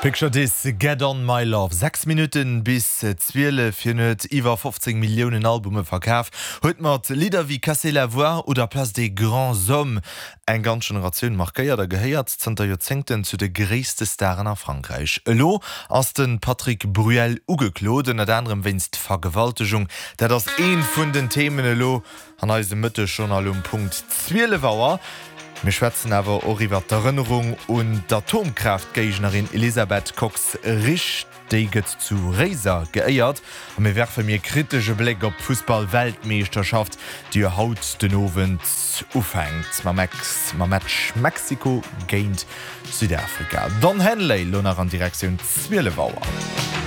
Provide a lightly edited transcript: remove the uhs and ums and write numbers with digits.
Picture This, Get On My Love. 6 Minutten bis 12. Hien huet iwwer 15 Milliounen Albume verkaf, huet mat Lidder wéi Casser la voix oder Place des grands hommes eng ganz Generatioun markéiert a gehéiert zënter Joerzéngten zu de gréisste Staren a Frankräich. Elo ass de Patrick Bruel ugeklot, ënnert anerem wéinst Vergewaltegung. Dat ass eent vun den Themen elo an eisem Mëttesjournal um Punkt 12 Auer. Mir schwätzen awer och iwwer d'Erënnerung un d'Atomkraaftgéignerin Elisabeth Kox-Risch. Déi gëtt zu Réiser geéiert. A mir werfe mir kritesch e Bléck op d'Fussball-Weltmeeschterschaft, déi jo haut den Owend ufänkt mam Match Mexiko géint Südafrika. Don Henley lo nach an Direktioun 12 Auer.